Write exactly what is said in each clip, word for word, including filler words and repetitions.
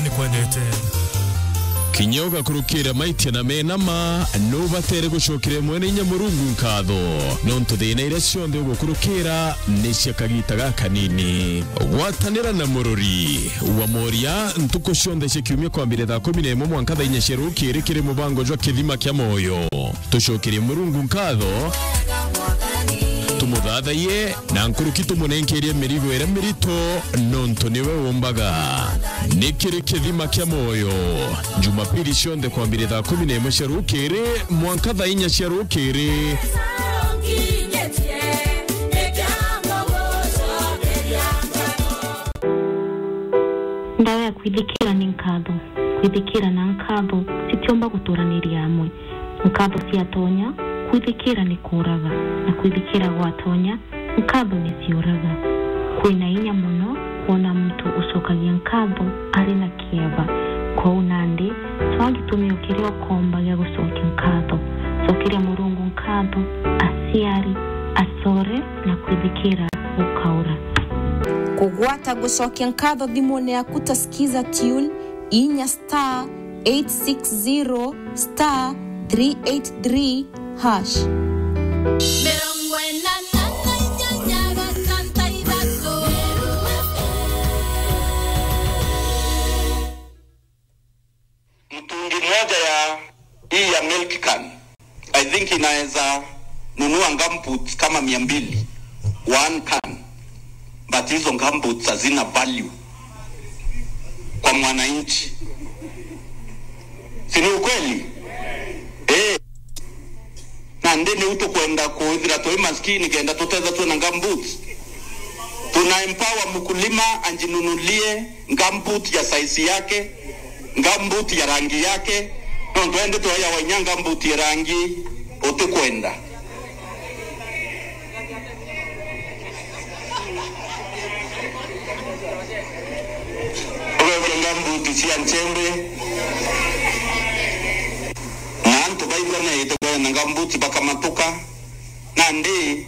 Ni kwendete. Kinya ugakurukira maitia na mena ma, nubatere gucokeria Mwene Inya Murungu nkatho, nontu thina iria cionthe ugukurukira ni cia kagita gakanini. Gwatanira na murori wa moria ntuku cionthe cia kiumia kwambire thaa kumi na imwe mwanka thaa inya cia rukiri kiri mubango jwa Kithima kia Moyo. Tucokerie Murungu nkatho, tumuthathaiye, na nkuruki tumunenkerie mirigo iria mirito, nontu niwe umbaga. Ni kiri Kithima kia Moyo, Jumapili cionthe kwambire thaa kumi na imwe cia rukiri mwanka thaa inya cia rukiri. Ndawa ya kwithikira ni nkatho. Kwithikira na nkatho citiumba guturaniria amwe. Nkatho ciatonya, kwithikira ni kuuraga, na kwithikira gwatonya, nkatho ni ciuraga. Kwina inya mono kwona muntu ucokagia nkatho ari na kieba. Kwou nandi, cwaa gitumi o kiria ukomba gia gucokia nkatho. Cokeria Murungu nkatho, aciari, acore, na kwithikira gukaura. Kugwata gucokia nkatho thimune yaku ta Skiza Tune, inya star eight six zero star three eight three hash. Mirongo ina na inyanya gatanta ithatu. Mtungi moja ya hii ya milk can, I think inaweza nunua gumboots kama mia mbili, one can. But hizo gumboots hazina value kwa mwananchi. Si ni ukweli? Eh. Na ndini u tukwenda kwithira twi maskini kenda tutethwa twina gumboots. Tuna empower mkulima anjinunulie gumboot ya size yake, gumboot ya rangi yake. Nontu endi twoya wainya gumboot ya rangi utikwenda. Ugeria gumboot cia nchembe. Na antu baigua neete kwena gumboot bakamatuka. Nandi,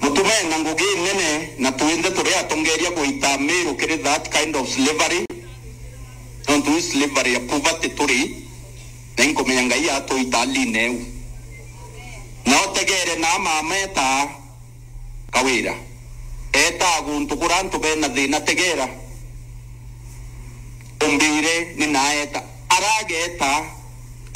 mutume na ngugi nene, na twinthe turi atongeria gwita Miru kiri that kind of slavery. Nontu i slavery ya poverty turi, na inkumenya Ngai atwita aline eu. Na utegere na mama eta Kawira. Eta guntu kura antu bena thina, tegera. Umbire ni naeta. Arageta,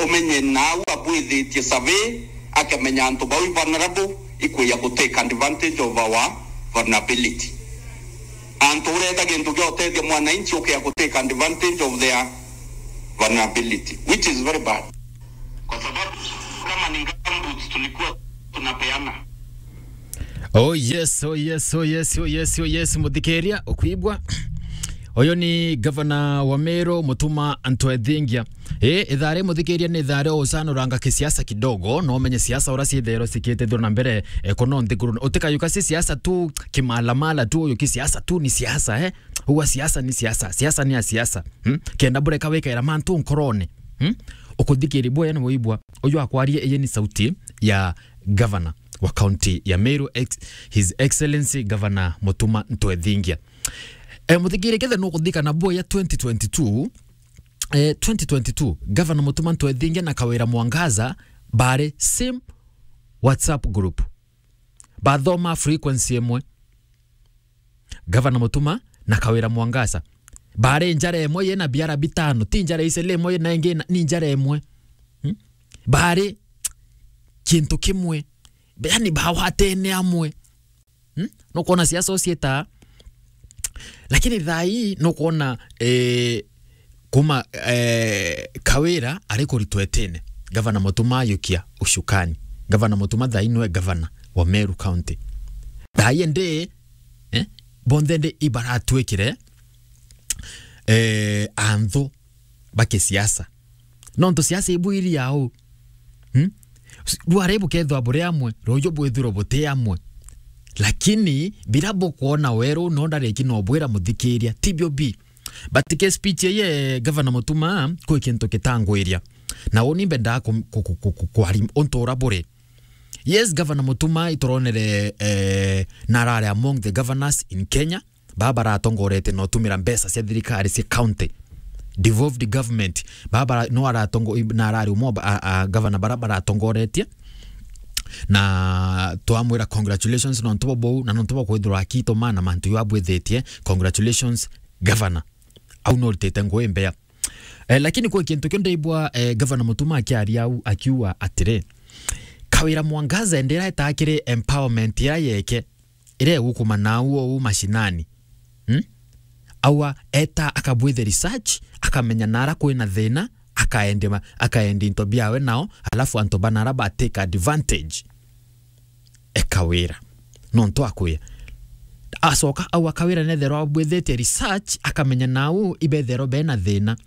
umenye nau abwithitie survey, akamenya antu bau i vulnerable, ikwija ku take advantage of our vulnerability. Antu ureta gintu gia utethia mwananchi, ukea ku take advantage of their vulnerability, which is very bad. Kwa sababu kama ni gumboots tulikuwa tunapeana. Oh yes, oh yes, oh yes, oh yes, oh yes, muthikiria, ukwigua? Uyu ni gavana wa Meru, Mutuma Ntwethingia. Eh, ithari muthikiria ni ithari ucanuranga kisiasa kidogo, no umenye siasa ura ciithero cikite thuru na mbere, eh, kuno nthiguru. Utikayuka si siasa tu, kimalamala tu, uyu ki siasa tu, ni siasa, eh? Uga siasa ni siasa, siasa ni ya siasa. Hmm? Kenda bureka wikaira mantu nkorone. Hmm? Ukuthikiri bwene ni wibwa. Uyu akwaria, iyi ni sauti ya governor wa county ya Meru, ex-, His Excellency Governor Mutuma Ntwethingia. Eh, muthikiri, kethe nukuthikana bwega twenty twenty-two, eh, twenty twenty-two, Governor Mutuma Ntwethingia na Kawira Mwangaza bari same WhatsApp group. Bathoma frequency imwe. Gavana Mutuma na Kawira Mwangaza bari njara imwe yena biara bitano, ti njara icele imwe yena ingi na, ni njara imwe. Hmm? Bari kintu kimwe. Yani bawatene amwe. Hmm? Nukwona siasa ucieta. Lakini thaa ii nukwona, eh, kuma, eh, Kawira ari kuritwa itine. Gavana Mutuma ayukia ucukani. Gavana Mutuma thaa ii niwe gavana wa Meru County. Thaa ii ndi, eh, bonthe ndi ibaratwikire, eh, anthu ba kisiasa. Nontu siasa ibwiri yau. Hmm? Rware bukethwa buri amwe, ruju bwithirwe buti amwe. Lakini bira bukwona weru no ndareki no bwira muthikiria, tibio bi. But ke speech ye Governor Mutuma kwi kintu kitangwiria. Na uni mbendaa ku, ku, ku, ku, kwari untu ura buri. Yes, Governor Mutuma ituronere, eh, narare among the governors in Kenya. baa baratongoretie na utumira mbeca cia thirikari cia county, devolved government, baa bara-, no aratongo-, na arari umwe wa ba-, a, a, gavana bara baratongoretie, na twamwira congratulations nontu bwa buu, na nontu bwa kwithirwa akiituma na mantu jau abwithitie, congratulations gavana. Au no uritite ngui mbea. Eh, lakini kwi kintu kiu ndaigua, eh, Gavana Mutuma akiaria au, akiuga atiri, Kawira Mwangaza indi ira etaa kiri empowerment ira yeke, ira igukuma nau ou mashinani. Hmm? Aua eta akabwithe research, akamenya nara kwina thina, akaendi ma-, akaendi into biawe nao, alafu antu banara ba take advantage. E Kawira. Nontu akwia. Acoka au a Kawira netherwa abwithitie research, akamenya nau ibetherwa bena thina.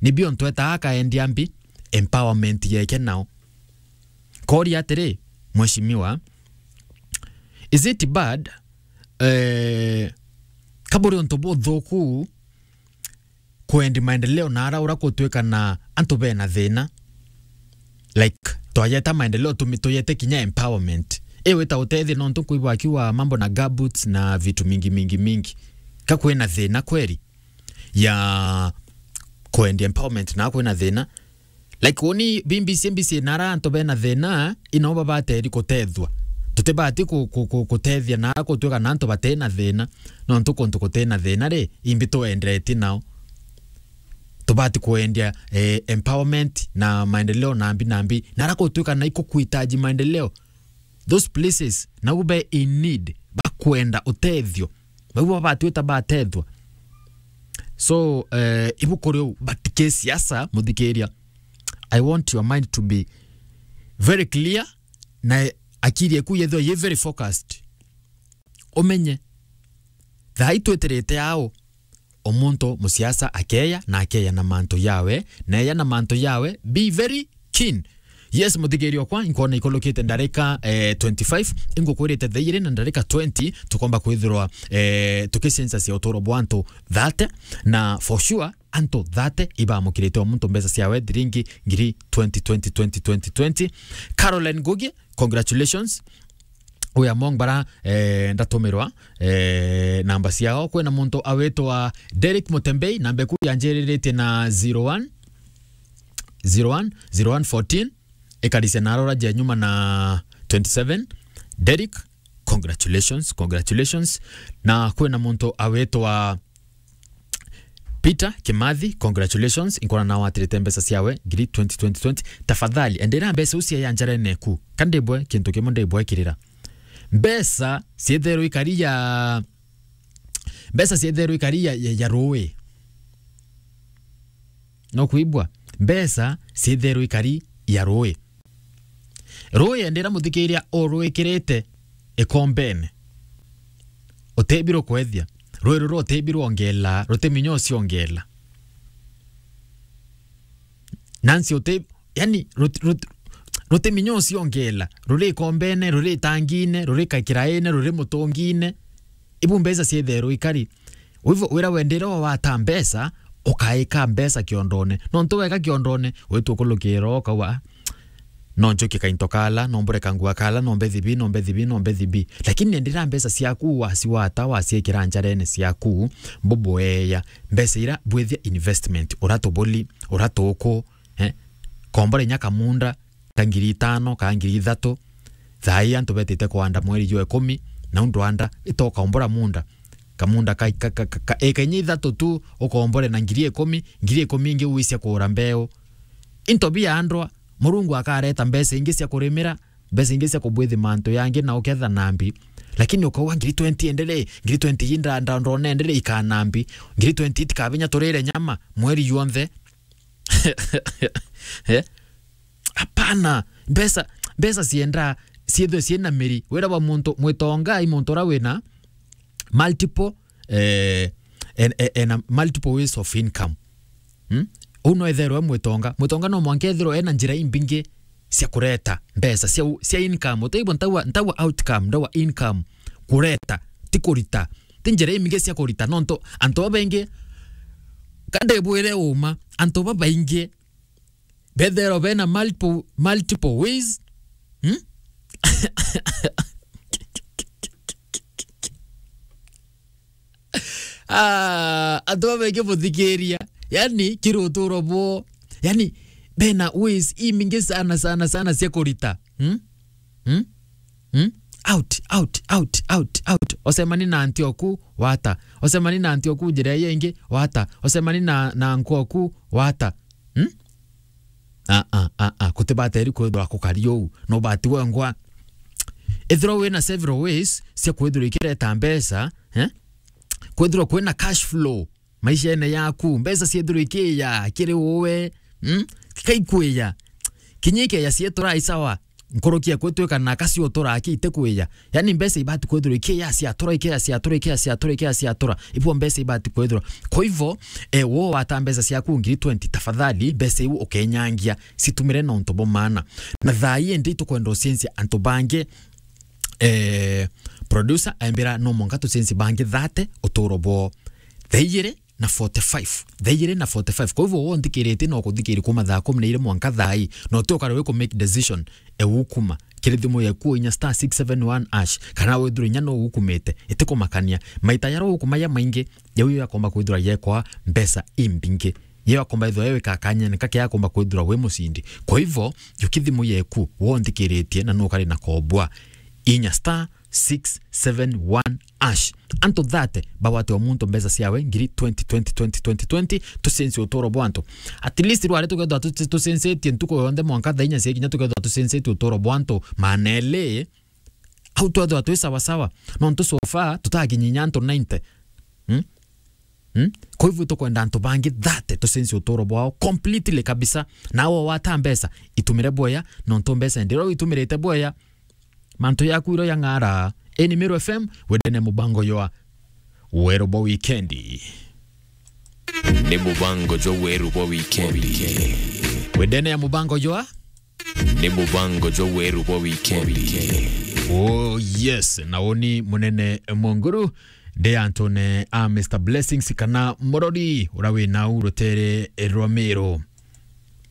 Nibio ntu etaa akaendia mbi, empowerment yeke nao. Koria atiri, Mheshimiwa, is it bad, eh, ka buri untu buthuku kwendi maendeleo na ara ura gutwika na antu bena thina. Like, twayeta maendeleo, tumi-, tuyete kinya empowerment. Iwe ta utethia nontu nkuigua akiuga mambo na gumboots na vitu mingi, mingi, mingi. Ka kwina thina kweri ya kwendia empowerment na kwina thina? Like, uni B B C, B B C nara antu bena thina, ino babateri kutethua. Tutibati ku-, ku-, ku-, kutethia na gutwika na antu batina thina, nontu kuntu kutina thina ri, imbi tuendeti nao. Tubati kwendia, eh, empowerment na maendeleo nambi nambi. Nara gutwika na ikukuhitaji maendeleo. Those places, nau be in need, bakwenda utethio. Bau babatwita batethwa. So, eh, ibuku riu, but kisiasa, muthikiria, I want your mind to be very clear, na akiri eku yethwa ye very focused. Umenye, thaa itweterete ao, o muntu musiasa akeya, na akeya na mantu yawe, na eya na mantu yawe, be very keen. Yes, muthikiria okwa, inkona ikulukite ndarika, eh, twenty-five, ingukwirite thaa igiri na ndarika twenty, tukomba kwithirwa, eh, tukicencacia uturo bwa antu thirty, na for sure, antu thirty ibamukirite o muntu mbeca ciawe thiringi ngiri twenty, twenty, twenty, twenty, twenty. Caroline Ngugi, congratulations. Uya mong bara, eh, ndatumirwa, eh, namba ciao. Kwina muntu awitwa Derek Mutembei, namba eku yanjiriritie na zero one, zero one, zero one fourteen. Ikarisia na arora ja nyuma na twenty-seven. Derek, congratulations, congratulations. Na kwina muntu awitwa Peter Kimathi, congratulations. Inkona nawe atirite mbeca ciawe, ngiri twenty, twenty, twenty. Tafadhali, endera mbeca ucio ya njarene ku. Ka ndibwe kintu kimwe ndibwe kirira. Mbeca cietherwe ikari ya, mbeca cietherwe ikari ya, ya, ya rui. No kuibwa? Mbeca cietherwe ikari ya rui. Rui endera muthikiria urwikirite ikombene. Utebirwo kwethia. Rui ruru utebirwo ongela, rutiminya ucio ongela. Nansi uti-, yani, rut-, rut-, rutiminya ucio ongela. Ruri ikombene, ruri itangine, ruri kakiraine, ruri mutungine. Ibu mbeca cietherwe ikari. Wivo wira wendere wata mbeca, ukaika mbeca kiondone. Nontu weka kiondone, witwa kulukira ukauga, "Ah, no njukie kainto kala, no mbure kangua kala, no mbethi bi, no mbethi bi, no mbethi bi." Lakini endera mbeca ciaku waciwata, waciekera njarene ciaku, mbubueya. Mbeca ira bwithia investment, uratubuli, uratuku, eh? Kombore nya kamunda, ka ngiri itano, ka ngiri ithatu. Thaa ii antu betite kwanda mweri jwa ikumi, na undu anda, ita ukombora munda. Kamunda ka, ka, ka, ka, ka, eka inya ithatu tu, ukombore na ngiri ikumi, ngiri ikumi ingi uisia kugura mbeu. Into biandwa, Murungu akareta mbeca ingi cia kurimira, mbeca ingi cia kubwithi mantu yangi na uketha nambi. Lakini ukauga ngiri twenty endere, ngiri twenty ii nda-, nda-, ndona endere ikana mbi, ngiri twenty itikabinya turire nyama, mweri yonthe. Eh? Hapana. Mbeca, mbeca cienda ciethwe ciina miri. Wira wa muntu mwitonga i muntu ura wina multiple, eh, en, en, ena multiple ways of income. Hmm? Uu no etherwe mwitonga. Mwitonga no mwanka ethirwe ena njira imbingi cia kureta mbeca cia u-, cia income. Utaigua ntauga, ntauga outcome, ndauga income. Kureta, ti kurita. Ti njira imbingi cia kurita. Nontu antu babaingi, ka ndibwire uma, antu babaingi betherwa bena multiple, multiple ways. Hmm? Ah, antu babaingi buthikiria. Yani, kiri uturo bwo. Yani, bena ways imingi sana, sana, sana cia kurita. Hmm? Hmm? Hmm? Out, out, out, out, out. Ocemani na anti oku, wata. Ocemani na anti oku njira iyo ingi, wata. Ocemani na, na anko oku, wata. Hmm? Ah, ah, ah, ah. Kutibateri kwithirwa kukari uu. No bati wengwa. Ethirwa wina several ways cia kwithirwa ikireta mbeca, eh? Kwithirwa kwina cash flow maishene yaku, mbeca ciethirwa ikiya kiri uwe, mm? Kaikwiya. Kinya ikeya cietura i sawa. Nkuruki ekwitwika na kasi utura aki itikwiya. Yani mbeca ibati kwithirwa ikiya ciatura, ikiya ciatura, ikiya ciatura, ikiya ciatura. Ibo mbeca ibati kwithirwa. Kwa hivyo, eh, wo wata mbeca ciaku ngiri twenty, tafadhali, mbeca iu ukenyangia, citumire na untu bwa maana. Na thaa ii ndi tukwenda ucenjia antu bangi, eh, producer, aimbira no mwanka tucenjie bangi thirty uturo bwo. Thaa igiri na forty-five. Thaa igiri na forty-five. Kwa hivyo, wo nthikiritie no kuthikiri kuma thaa kumi na iri mwanka thaa ii. No ti ukare wi ku make decision, e ukuma. Kiri thimu yeku inya star six seven one hash. Kana withirwe inya no ukumite. Itikumakania. Maita yaro ukumaya maingi, yau yakomba kwithirwa yekwa mbeca imbingi. Yau akomba ithwa yewe kakanyene kake akomba kwithirwa wi mucindi. Kwa hivyo, yuki thimu yeku, wo nthikiritie na no kari na kobwa. Inya star six seven one hash. Antu thirty bagwate o muntu mbeca ciawe ngiri twenty, twenty, twenty, twenty, twenty, tucenjie uturo bwa antu. At least rwari tukethwa tu-, tucenjetie ntuku yonthe mwanka thaa inya cia kinya tukethwa tucenjetie uturo bwa antu maana eli, au twethwa twi sawa sawa. Nontu so far tutakinyinya antu ninety. Hmm? Hmm? Kwa hivyo tukwenda antu bangi thirty tucenjie uturo bwao completely kabisa. Nawe wata mbeca, itumire bwea, nontu mbeca ndiro itumirite bwea. Mantu yaku iro yang'ara. Eni Meru F M, wendene mubango jwa weru bwa wikendi. Ni mubango jwa weru bwa wikendi. Wendene ya mubango jwa? Ni mubango jwa weru bwa wikendi. Oh yes, na uni munene Munguru, ndi antune a Mister Blessings kana Murori, ura wi nau rutere rwa Meru.